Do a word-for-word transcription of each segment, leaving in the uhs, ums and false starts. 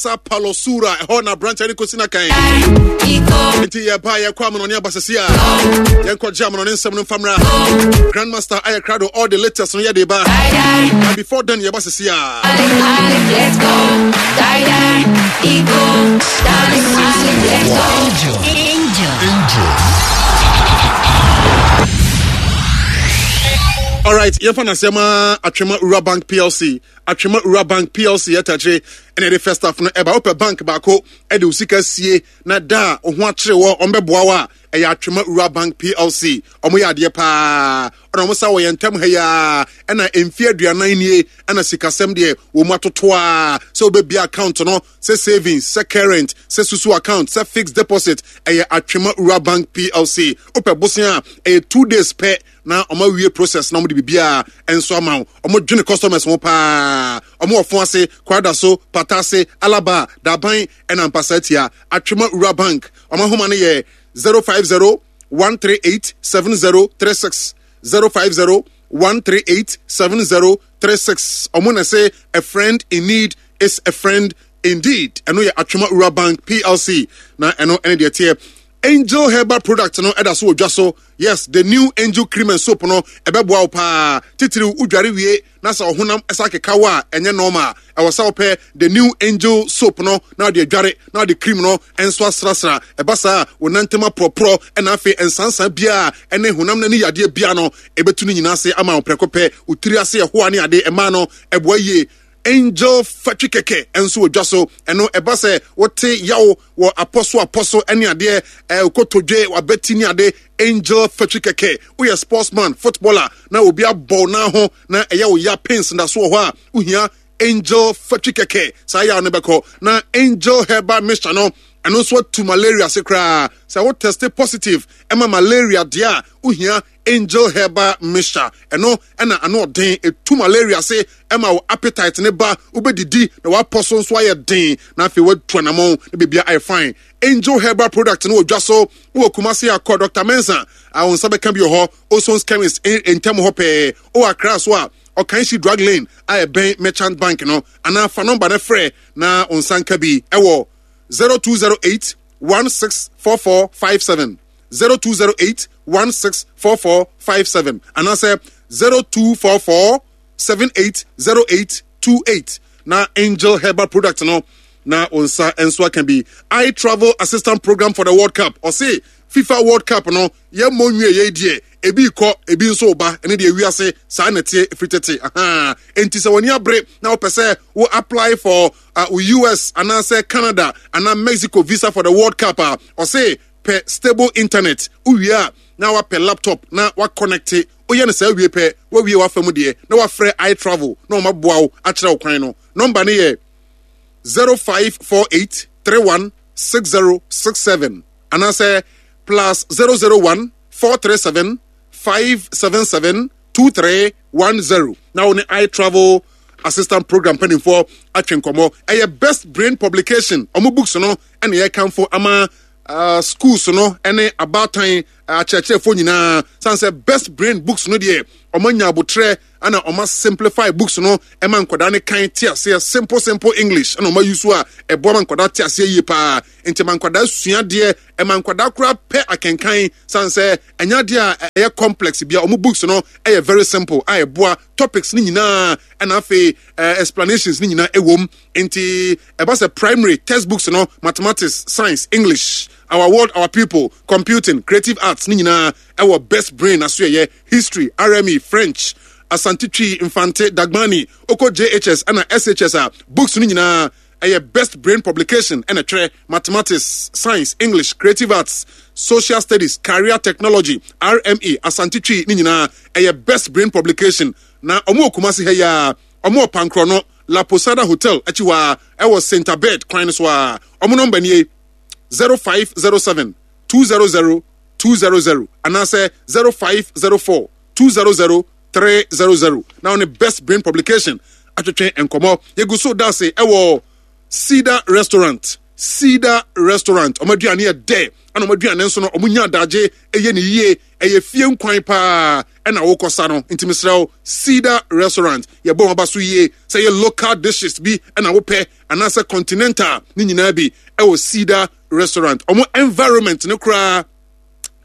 Sa Palosura ɛhɔ na aberanteɛ no kɔsi no kan. Nti yɛba yɛkɔ amanɔne aba sɛsi a yɛnkɔgye amanɔne nsɛm no mfa mmra. Grandmaster ayɛ krado, all the latest no yɛde ba. But before then yɛba sɛsi a. Angel. Angel. Angel. All right, yɛmfa no asɛm a Atwema Rural Bank P L C. Atwema Rural Bank P L C yɛtakyere ɛna yɛde first half no ɛba. Wopɛ bank baako ɛde wo sika sie na da a wo ho akyere wɔ ɔmbɛboa wo a, ɛyɛ Atwema Rural Bank P L C. Ɔmo yɛ adeɛ paa ɔna ɔmo sa wɔ yɛn ntam ha yi a ɛna mfeɛ aduanan nie ɛna sikasɛm deɛ wɔ mu atoto a sɛ wobɛbia account no, sɛ savings, sɛ current, sɛ susu account, sɛ fixed deposit, ɛyɛ Atwema Rural Bank P L C. Wopɛ bosea a ɛyɛ two days pɛ na ɔmo awie process na ɔmo de biribiara nso ama wo. Ɔmo dwene customers ho paa. Ɔmo wɔ fo ase, Kwada so, Pata ase, Alaba, Daban ɛna Mpasa Tia. Atwema Rural Bank ɔmo ahoma no yɛ zero five zero one three eight seven zero three six, zero five zero one three eight seven zero three six. Ɔmo na sɛ a friend in need is a friend indeed. Ɛno yɛ Atwema Rural Bank P L C na ɛno ɛne deɛ teɛ. Angel Herbal product no ɛda so wɔ dwa so. Yes, the new Angel cream and soap no ɛbɛboa wo paa, titiriw wodware wie na sɛ ɔhonam ɛsa keka wo a ɛnyɛ normal. Ɛwɔ sɛ wopɛ the new Angel soap no na wode adware na wode cream no ɛnso asrasra. Ɛba saa, wo nantam aporɔporɔ ɛna afei nsansan biara ɛne honam no ani yadeɛ bia no ɛbɛtu no nyinaa ase ama wo prɛko pɛ. Wo tiri ase ɛhoa ne ade ɛmaa no ɛboa yie. Angel Fatwi kɛkɛ nso wɔ dwa so. Ɛno ɛba sɛ wote yaw wɔ apɔ so apɔ so ne adeɛ ɛɛ kotodwe wabɛti ne ade, Angel Fatwi kɛkɛ. Woyɛ sportsman, footballer, na obi abɔ nan ho na ɛyɛ wo ya, pains da so wɔ hɔ a, wohia Angel Fatwi kɛkɛ, saa yaw no bɛkɔ. Na Angel Herbal mixture no ɛno nso atu malaria se koraa. Sɛ wo test positive ɛma malaria deɛ a, wohia Angel Herbal mixture. Ɛno ɛna ano ɔden etu malaria se ɛma wo appetite ne ba, wobɛdidi na wapɔ so nso ayɛ den na afei watu anamɔn na biribia ayɛ fine. Angel Herbal product no wɔ dwa so. Wowɔ Kumase akɔ Doctor Mensa a wo nsa bɛka bi wɔ hɔ, Osons Chemist ntɛm hɔ pɛɛ. Wowɔ Accra so a, Ɔkanhyi Drug Lane a ɛbɛn Merchant Bank no, anaa fa nɔmba no frɛ na wo nsa nka bi ɛwɔ zero two zero eight one six four four five seven, zero two zero eight one six four four five seven, anaasɛ zero two four four seven eight zero eight two eight na Angel Herbal product no na wo nsa nso aka bi. I Travel Assistant Program for the World Cup. Ɔse FIFA World Cup no yɛmmɔ nwie yɛi deɛ, ebi kɔ ebi nso ba. Ɛne deɛ wiase saa na ɛteɛ ɛfiri tete aha. Enti sɛ w'ani abere na wopɛ sɛ wo apply for uh, U S anaasɛ Canada anaa Mexico visa for the World Cup a, ɔse pɛ stable internet. Wowie a na wapɛ laptop na waconnect. Woyɛ no saa wie pɛ, wawie wafa mu deɛ na wafrɛ I Travel na ɔmaboa wo akyerɛ wo kwan no. Nɔmba no yɛ zero five four eight three one six zero six seven anaasɛ plus zero zero one four three seven five seven seven two three one zero na wo ne I Travel Assistant Program mpanimfoɔ atwe nkɔmmɔ. Ɛyɛ Best Brain Publication ɔmo books no ɛna yɛkamfo ama uh, schools no ɛne abaatan akyerɛkyerɛfoɔ nyinaa san sɛ Best Brain books no deɛ, ɔmo anya abotrɛ ɛna ɔmo simplify books no ɛma nkwadaa ne kan te aseɛ. Simple simple English ɛna ɔmo ayi so a ɛboa ma nkwadaa te aseɛ yie paa. Nti ma nkwadaa sua adeɛ, ɛma nkwadaa koraa pɛ akenkan san sɛ ɛnyɛ adeɛ a ɛyɛ complex bia. Ɔmo books no ɛyɛ very simple a ɛboa topics ne nyinaa ɛna afei ɛɛ explanations ne nyinaa ɛwɔ mu. Nti ɛba sɛ primary textbooks no, mathematics, science, English, Our World Our People, computing, creative arts ne nyinaa ɛwɔ Best Brain aso. Ɛyɛ history, R M E, French, Asante Twi, Mfante, Dagbani, okɔ J H S ɛna S H S a, books no nyinaa ɛyɛ Best Brain Publication ɛna twerɛ. Mathematics, science, English, creative arts, social studies, career technology, R M E, Asante Twi ne nyinaa ɛyɛ Best Brain Publication. Na ɔmo wɔ Kumase ha yi a, ɔmo wɔ Pankorɔ no, La Posada Hotel akyi hɔ a ɛwɔ Saint Abed kwan no so a. Ɔmo nɔmba nie: zero five zero seven two zero zero two zero zero anaasɛ zero five zero four two zero zero three zero zero na ɔne Best Brain Publication atwetwe nkɔmmɔ. Yɛgu so da ase ɛwɔ Cedar Restaurant. Cedar Restaurant. Ɔmo aduane yɛ dɛ, ɛna ɔmo aduane nso no, ɔmo nya adagye ɛyɛ ne yie, ɛyɛ fie nkwan paa ɛna wokɔsa no. Nti mesrɛ wo, Cedar Restaurant, yɛbɔ wɔn aba so yie sɛ yɛ local dishes bi ɛna wopɛ anaasɛ continental ne nyinaa bi ɛwɔ Cedar Restaurant. Ɔmo environment no koraa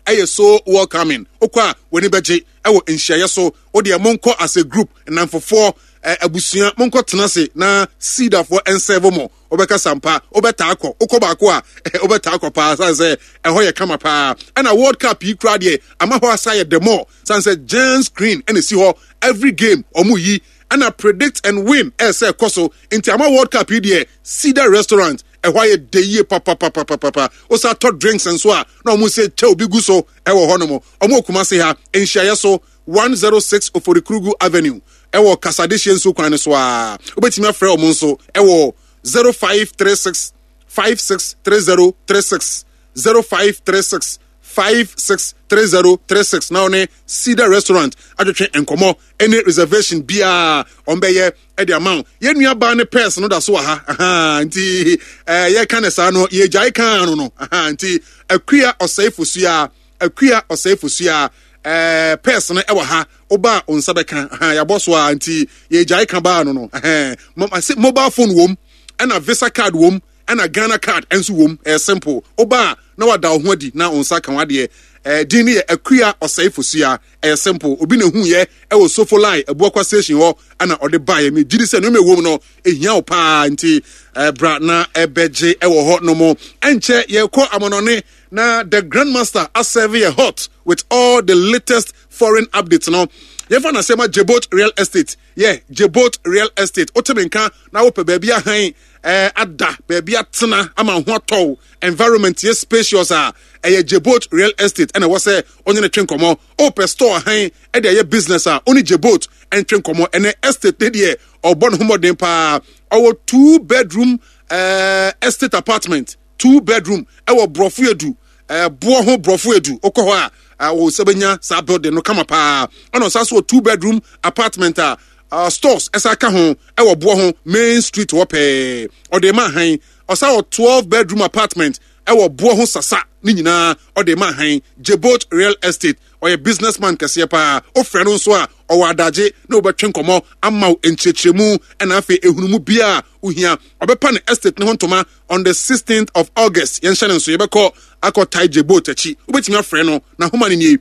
ɛyɛ so welcoming. Wokɔ a, w'ani bɛgye ɛwɔ nhyiaeɛ so. Wodeɛ monkɔ as a group, nnamfofoɔ, abusua, monkɔ tena ase na Cedarfoɔ ɛnserve mo. Wobɛka sampa, wobɛtaa kɔ. Wokɔ baako a, wobɛtaa kɔ paa, sane sɛ ɛhɔ yɛ kama paa. Ɛna World Cup yi koraa deɛ, ama hɔ asa yɛ the more, sane sɛ giant screen ɛna esi hɔ. Every game ɔmo yi, ɛna predict and win ɛsɛ ɛkɔ so. Nti ama World Cup yi deɛ, Cedar Restaurant ɛhɔ ayɛ de yie papapapapapa. Wosa tɔ drinks nso a, na ɔmo sɛ kyɛw bi gu so ɛwɔ hɔ nom. Ɔmo Kumase ha, nhyiaeɛ so, one oh six Oforikrugu Avenue, ɛwɔ Kasadehyɛ nso kwan no so a, wobɛtumi afrɛ ɔmo nso ɛwɔ zero five three six five six three zero three six, zero five three six five six three zero three six, na ɔne Cedar Restaurant atwetwe nkɔmɔ ɛne reservation biara ɔmbɛyɛ ɛde ama wo. Yɛn nua baa ne purse no da so wɔ ha. Aha, nti ɛɛ yɛka ne saa no, yɛgyae kan no no Aha, nti Akua Ɔsɛe Fosua, Akua Ɔsɛe Fosua, ɛɛ purse no ɛwɔ ha. Ɔbaa o, nsa bɛka. Aha, yɛabɔ so a, nti yɛgyae ka baa no no Ɛhɛn, mobile phone wom, ɛna Visa card wom, ɛna Ghana Card nso wom. Ɛyɛ simple. Ɔbaa na wada wo ho adi na wo nsa ka wadeɛ. Ɛɛ din no yɛ Akua Ɔsɛe Fosua. Ɛyɛ simple. Obi na ehu yɛ ɛwɔ Sofolai Abuakwa Station hɔ ɛna ɔde ba yɛ. Mi gyidi sɛ nneɛma ɛwɔ mu no ehia wo paa, nti ɛɛ na ɛbɛgye ɛwɔ hɔ nom. Ɛnkyɛ yɛkɔ amanɔne na the Grandmaster aserve yɛ hot with all the latest foreign updates no. Yɛmfa na sɛma Jebot Real Estate. Yɛ Jebot Real Estate, wotemi nka na wopɛ baabi ahan ɛɛ ada, baabi atena ama ho atɔw, environment yɛ spacious a, ɛyɛ Jebot Real Estate ɛna ɛwɔ sɛ ɔnyɛ ne twe nkɔmɔ. Ɔpɛ store ahan ɛde ɛyɛ business a, ɔne Jebot ɛntwe nkɔmɔ. Ɛnɛ estate ne deɛ, ɔbɔ ne ho mmɔden paa. Ɔwɔ two bedroom ɛɛ estate apartment, two bedroom, ɛwɔ Borɔfo Edu, ɛɛ boɔ ho Borɔfo Edu. Okɔ hɔ a, wɔ sɛ bɛnya saa building no kama paa. Ɛna ɔsan so wɔ two bedroom apartment a uh, stores ɛsa ka ho ɛwɔ boɔ ho Main Street hɔ pɛɛ. Ɔde ma han. Ɔsan wɔ twelve bedroom apartment ɛwɔ boɔ ho Sasa. Ne nyinaa ɔde ma han. Jebot Real Estate, ɔyɛ businessman kɛseɛ paa. Ofrɛ no nso a, ɔwɔ adagye na wobɛtwe nkɔmmɔ ama wo nkyerɛkyerɛmu, ɛna afei ehunumu bia ohia. Ɔbɛpa ne estate ne ho ntoma on the sixteenth of August. Yɛnhyɛ ne nso, yɛbɛkɔ akɔ tae Jebot akyi. Wobɛtumi afrɛ no na homa no nie: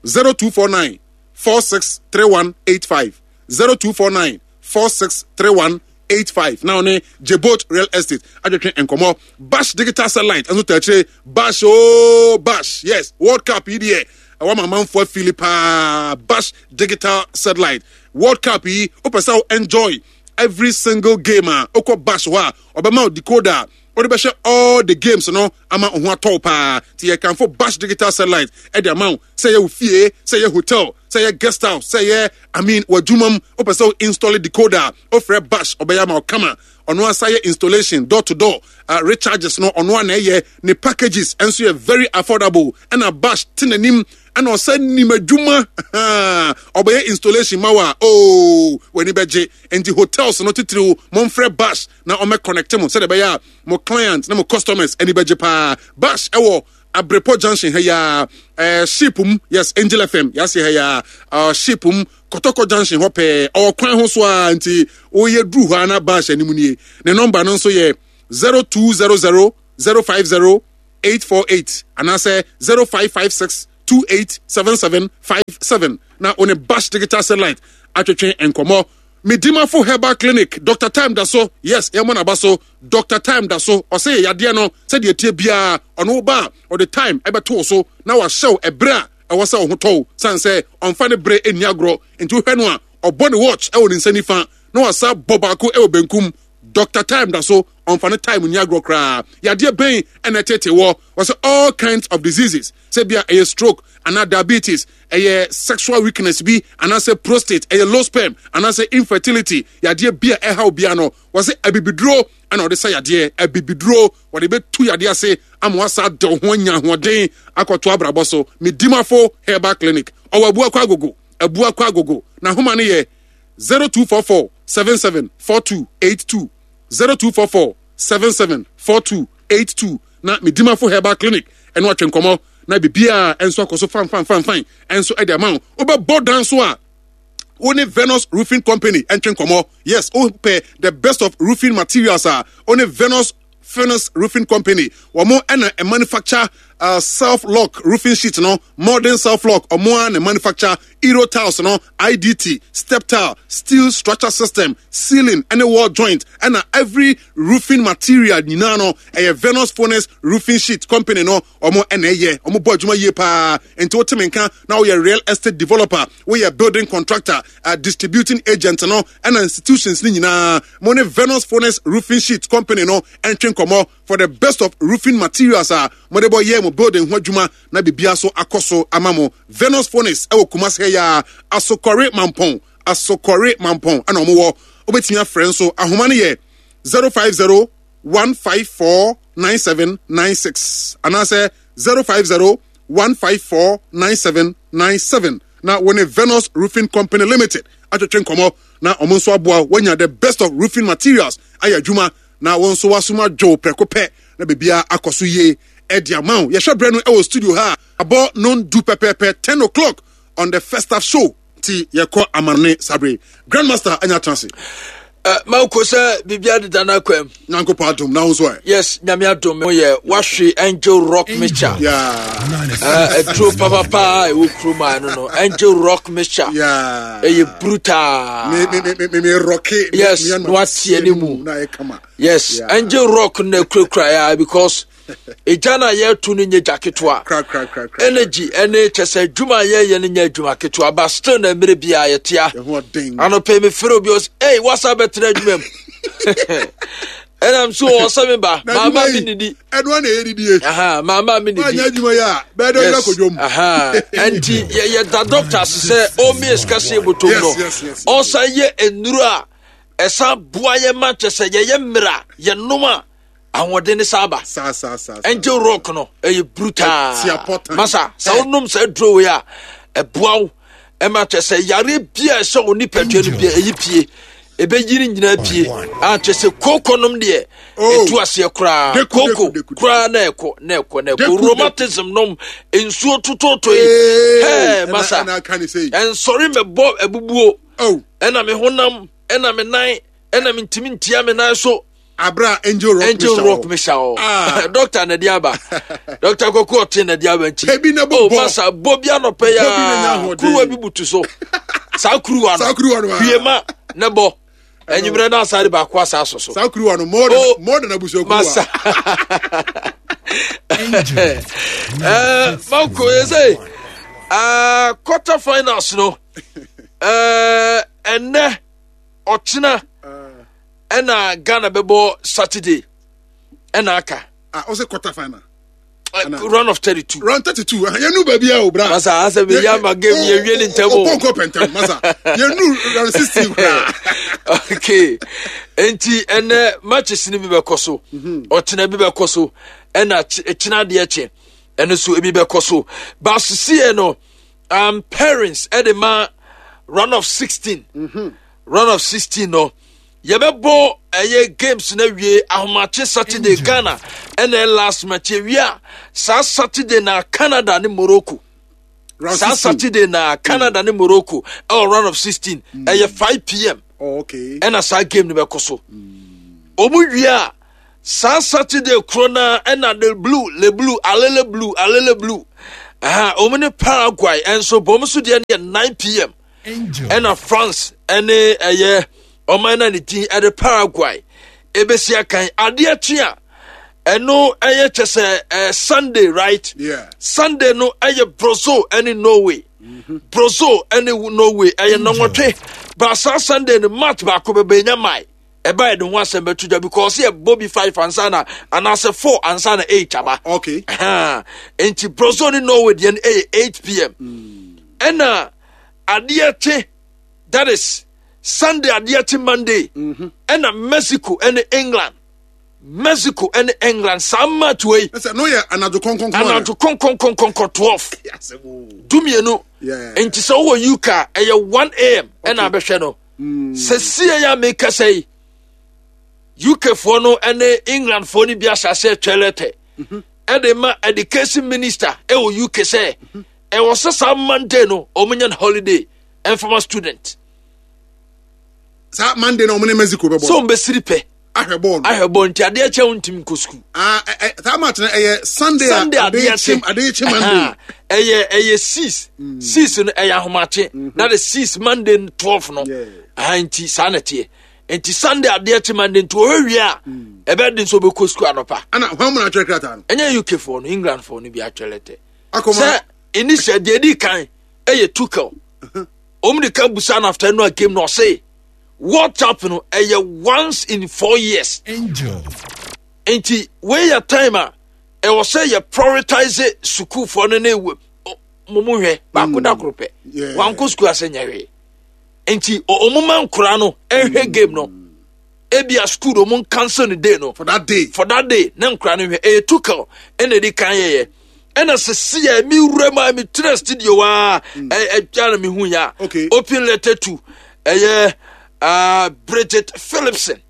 zero two four nine four six three one eight five, zero two four nine four six three one eight five, na ɔne Jebot Real Estate adwetwe nkɔmmɔ. Bash Digital Satellite nso taakyire. Bash ooo, Bash, yes. World Cup yi deɛ, ɛwɔ ma amanfoɔ afili paa. Bash Digital Satellite, World Cup yi, wopɛ sɛ wo enjoy every single game a, wokɔ Bash hɔ a, ɔbɛma wo decoder a wode bɛhyɛ all the games no ama wo ho atɔw paa. Nti yɛkamfo Bash Digital Satellite ɛde ama wo sɛ yɛ wo fie, sɛ yɛ hotel, sɛ yɛ guest house, sɛ yɛ, I mean, w'adwuma mu. Wopɛ sɛ wo install decoder a, wofrɛ Bash, ɔbɛyɛ ama wo kama. Ɔno asa yɛ installation, door to door, uh, recharges no ɔno ana ɛyɛ. Ne packages nso yɛ very affordable. Ɛna Bash te n'anim, ɛna ɔsɛ nim adwuma. Ɔbɛyɛ installation ma wa ooo, w'ani bɛgye. Nti hotels no titiriw, momfrɛ Bash na ɔmɛ connect mo sɛdeɛ ɛbɛyɛ a mo client na mo customers ani bɛgye paa. Bash ɛwɔ Abrepɔ Junction ha yaa, ɛɛ ship mu. Yes, Angel F M yɛase ha yaa, uh, ship mu, Kɔtɔkɔ Junction hɔ pɛɛ, ɔwɔ kwan ho so a. Nti woyɛ duru hɔ a, na Bash anim nie. Ne nɔmba no nso yɛ zero two zero zero zero five zero eight four eight anaasɛ zero five five six two eight seven seven five seven, na one Bash Digital Satellite atwetwe nkɔmmɔ. Medimafo Herbal Clinic, Doctor Time da so. Yes, yɛmmɔ n'aba so. Doctor Time da so, ɔsɛ yɛ yadeɛ no sɛdeɛ tie biara, ɔno ba a, ɔde time ɛbɛto so na wahyɛw ɛberɛ a ɛwɔ sɛ ɔho tɔw, san sɛ ɔmfa ne berɛ ɛnni agorɔ. Nti wohwɛ no a, ɔbɔ ne watch ɛwɔ ne nsa nifa na wasa bɔ baako ɛwɔ benkum. Doctor Time da so, ɔmfa ne time ni agorɔ koraa. Yadeɛ bɛn ɛna ɛtete wɔ? Wɔsɛ all kinds of diseases, sɛ bia ɛyɛ stroke anaa diabetes, ɛyɛ sexual weakness bi anaasɛ prostate, ɛyɛ low sperm anaasɛ infertility, yadeɛ bi a ɛha obia no, wɔsɛ abibiduro ɛna ɔde sa yadeɛ. Abibiduro wɔde bɛtu yadeɛ ase ama wasa de ho anya ahoɔden akɔto abrabɔ so. Medimafo Herbal Clinic, ɔwɔ Abuakɔ Agogo, Abuakɔ Agogo. Na homa no yɛ zero two four four seven seven four two eight two, zero two four four seven seven four two eight two na Medimafo Herbal Clinic ɛno atwe nkɔmmɔ na biribiaa ɛnso akɔ so fan fan fan fan ɛnso ɛde ama wo. Wobɛbɔ dan so a, wo ne Venus Roofing Company ɛntwe nkɔmmɔ. Yes, wopɛ the best of roofing materials a, wo ne Venus Furnace Roofing Company. Wɔn ɛna manufacture uh, self lock roofing sheet no, modern self lock. Ɔmo a na manufacture Euro tiles no, I D T, step tile, steel structure system, ceiling ɛne wall joint, ɛna every roofing material nyinaa no, ɛyɛ Venus Furnace Roofing Sheet Company no ɔmo ɛna ɛyɛ. Ɔmo bɔ adwuma yie paa. Nti wote me nka na woyɛ real estate developer, woyɛ building contractor, uh, distributing agent no, ɛna institutions ne nyinaa, mo ne Venus Furnace Roofing Sheet Company no ɛntwe nkɔmmɔ for the best of roofing materials a mode bɔ yɛ mo building ho adwuma na biribia so akɔ so ama mo. Venus Furnace ɛwɔ Kumase ha yi a, Asokɔre Mampɔn, Asokɔre Mampɔn ɛna ɔmo wɔ. Wobɛtumi afrɛ nso, ahoma no yɛ zero five zero one five four nine seven nine six anaasɛ zero five zero one five four nine seven nine seven na wo ne Venus Roofing Company Limited atwetwe nkɔmmɔ na ɔmo nso aboa woanya the best of roofing materials ayɛ adwuma na wɔn nso wasom adwo prɛko pɛ na biribiara akɔ so yie ɛde ama wo. Yɛhwɛ berɛ no ɛwɔ studio ha, abɔ non du pɛpɛɛpɛ, ten o'clock on the First Half Show, nti yɛkɔ amanne sabre. Grandmaster anya atena ase. Uh, Mako sɛ biribia deda no akwam. Nyankopɔn adom, na wo nso ɛ? Yes, Nyame adom ho yɛ. Wahwe Angel Rock Mixture. Yeah. Aduro uh, papapaa ɛwɔ kurom a ɛno no Angel Rock Mixture. Yeah. Ɛyɛ brutal. Me me me me me rock. Yes, na wateɛ ne mu. Na ɛyɛ kama. Yes. Yeah. Angel Rock na kurakura ya because ɛgya no a yɛto no nyɛ gya ketewa. Kra kra kra kra. Energy ɛne kyɛ sɛ adwuma a yɛyɛ no nyɛ adwuma ketewa, but still na mmerɛ biaa yɛtea. Ɛho ɔden. Anɔpɛ mefrɛ obi, ɔsɛ, "Ei, wasa bɛtena adwuma mu?" Ɛnam so ɔsɛ me ba Na maama adwuma me yi, nidi. Ɛno ana ɛyɛ didie. Aha, maama me Woanyɛ nidi. adwuma yi a, bɛyɛ dɛ ɔyɛ akɔdwom. Aha, ɛnti yɛ- yɛda doctor ase sɛ ɔmmie sika se botom Yes, no yes, yes. ɔsan yɛ nnuro a ɛsan boa yɛ ma kyɛ sɛ yɛyɛ mmerɛ a yɛnom a ahoɔden ne saa ba. Saa saa saa saa. Angel Rock no ɛyɛ brutal. Ɛtia pɔtan. Masa sɛ Eh. wonom saa duro wei a, ɛboa wo ɛma kyɛ sɛ yare bia ɛhyɛ wo nipadua no bia ɛyi pie, ɛbɛyi ne nyinaa pie a kyɛ sɛ kooko nom deɛ Oh. ɛtu aseɛ koraa. Deku, kooko deku, deku. Koraa na ɛkɔ na ɛkɔ na ɛkɔ. Deku, Rheumatism nom, nsuo tototo yi. Ee, hɛɛ ɛna- masa ɛna aka ne sei. ɛnsɔre mɛbɔ abubuo. Oh, ɛna me honam, ɛna me nan, ɛna me ntumi ntia me nan so. Abra Angel Rock Angel Mixture Rock wɔ. Mixture wɔ. Ah. Doctor na de aba, Doctor Kɔkɔ ɔte na de aba nti. Ebi na bɔ oh bɔ. Masa bɔ bi anɔpɛ Bɔ bi na nya ya ahoɔden. kuruwa bi butu so, saa kuruwa no Saa kuruwa no, ah. hwie ne bɔ enyimrɛ na asa de baako asa aso so. Saa kuruwa no more than Oh. more than abusua kuruwa. Masa ɛɛ Mako yɛ sɛ ɛɛ quarter finals no, ɛɛ ɛnɛ ɔkyena ɛna Ghana bɛbɔ Saturday ɛna aka. Ah, ɔsɛ quarter final. Uh, round of thirty-two. Round thirty-two. Yɛnu baabi a o bra. Masa asɛ bɛ yɛ ama game yɛ wie ne ntɛm o. O. Ɔpɔnkɔ pɛntɛm masa. Yɛnu round sixteen koraa. Okay, nti ɛnɛ matches ni bi bɛkɔ so, ɔkyena bi bɛkɔ so, ɛna kyena adeɛ kye ɛno nso ebi bɛkɔ so. Baasisiɛ no um, parents ɛde ma round of sixteen. Round of sixteen no yɛbɛbɔ ɛyɛ games na wie ahomakye Saturday Ghana ɛna last match. Ewie a, saa Saturday na Canada ne Morocco. Round saa sixteen. Saturday na Canada ne Morocco ɛwɔ round of sixteen, ɛyɛ five p m. Oh, okay. Ɛna saa game no bɛkɔ so. Ɔmu wie a, saa Saturday koro na ɛna the blue le blue alele blue alele blue ɛha ɔmu ne Paraguay ɛnso bɔn nso deɛ no yɛ nine p m. Ɛna France ɛne ɛyɛ ɔman na ne din ɛde Paraguay ebesi akan. Adeɛ kye a, ɛno ɛyɛ kyɛ sɛ ɛɛ Sunday, right? Yeah. Sunday no ɛyɛ Brazil ɛne Norway. Brazil ɛne Norway ɛyɛ nɔnwɔtwe baasa. Sunday no match baako bɛbɛ enya mae ɛba yɛ de ho asɛm bɛto dwa because yɛ bɔ bi five ansa na anaasɛ four ansa na eight aba. Okay. Ɛhɛn. Nti Brazil ne Norway deɛ no ɛyɛ eight p m. Ɛna adeɛ kye, that is Sunday adeɛ kye Monday, ɛna Mexico ɛne England, Mexico ɛne England saa match wei. Ɛsɛ no yɛ anadwo kɔnkɔnkɔn. Anadwo kɔnkɔnkɔnkɔnkɔ twelve dumienu. Yeah. Nti sɛ wowɔ U K a, ɛyɛ one a m ɛna abɛhwɛ no. Sɛ sie yɛ a mekasa yi U K foɔ no ne England foɔ no bi ahyɛ aseɛ twɛ letter ɛde ma education minister ɛwɔ U K sɛ ɛwɔ sɛ saa Monday no ɔmo nya no holiday ɛmfama student. Saa Monday na ɔmo ne Mexico bɛbɔ. Sɛ ɔmo bɛsiri pɛ. Ahwɛ bɔɔl no. Ahwɛ bɔɔl, nti adeɛ kyɛ wo ntumi nkɔ sukuu. Ah, ɛ ɛ saa match no ɛyɛ Sunday a? Sunday adeɛ kye kye. Adeɛ kye Monday. Aha. ɛyɛ ɛyɛ six six no, ɛyɛ ahomakye na de six Monday no twelve no. Yeah. Aha, nti saa na teɛ, nti Sunday adeɛ kye Monday, nti wɔhwɛ wie a ɛbɛyɛ den sɛ ɔbɛkɔ sukuu anɔpa. Ana hɔn mu na atwerɛ krataa no? Ɛnyɛ U K foɔ no, England foɔ no bi atwerɛ letter. Akɔma. Sɛ initial deɛ di kan ɛyɛ Tuchel, wɔn de ka busa no after no a game no, ɔse World Cup no ɛyɛ once in four years. Angel. Nti wei yɛ time a ɛwɔ sɛ yɛ prioritize sukuufoɔ no ne wo mo mo hwɛ baako da koro pɛ. Yeah. Wankɔ sukuu ase nyɛ hwee, nti ɔ- ɔmo ma nkora no ɛhwɛ game no, ebia school ɔmo cancel no day no. For that day. For that day ne nkora no hwɛ. Ɛyɛ Tuchel ɛna edi kan yɛyɛ, ɛna sisi yɛ mi wura mu a mi tena studio waa ɛ ɛtwa na mi hu ya. Okay. Open letter to ɛyɛ uh, Bridget Phillipson.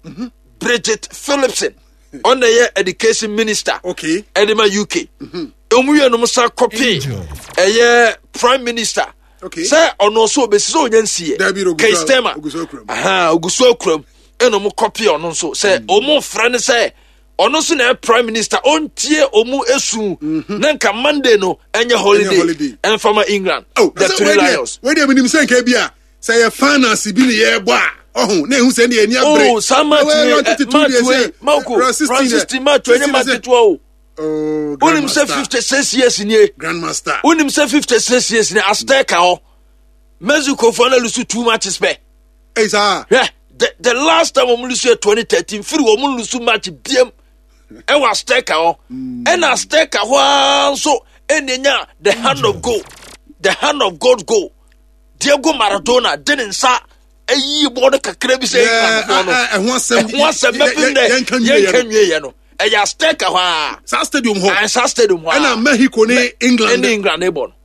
Bridget Phillipson ɔna yɛ education minister okay ɛde ma U K. Ɔmu yɛ nom sa copy Angel. ɛyɛ prime minister Okay. sɛ ɔno nso obesi sɛ ɔnya nsiɛ. Dabi, ogu so- Keir Starmer. Ogu so akuram. Aha, ogu so akuram, ɛna ɔmo copy ɔno nso sɛ ɔmo frɛ no sɛ ɔno nso na ɛyɛ prime minister, ɔntie ɔmo esu na nka Monday no ɛnyɛ holiday. Holiday. Ɛnfama England, Oh, the Three Lions. Wei deɛ, menim sɛ nka bi a sɛ yɛ finance bi ne yɛbɔ a, ɔho na ehu sɛ ne yɛni abere. Oh, saa match Ɛwɔ wei round ɛ, thirty-two match deɛ wei sɛ, Mako, round sixteen round deɛ, sixteen match wei ɛnyɛ match sixteen ketewa o. Oh, Wonim sɛ Grandmaster. fifty six years nie. Grandmaster. Wonim sɛ fifty six years nie, Azteca hɔ Mexico fo na lose two matches pɛ. Ɛyi saa. Hwɛ, the the last time wɔn lose yɛ twenty thirteen, firi wɔn lose match biem ɛwɔ Azteca hɔ, ɛna Azteca hɔ ara nso ɛna nya the hand of God, the hand of God goal. Diego Maradona de ne nsa ayi bɔɔl no kakra bi sɛ Yeah, England bɔɔl no. ɛ- ɛ- ɛho asɛm. Ɛho asɛm bɛpem dɛ yɛnka nwie yɛ yɛnka no. nwie yɛ no, ɛyɛ Azteca hɔ a. Saa stadium hɔ. Saa stadium hɔ a. Ɛna Mexico ne England. Ɛne England ne bɔ no.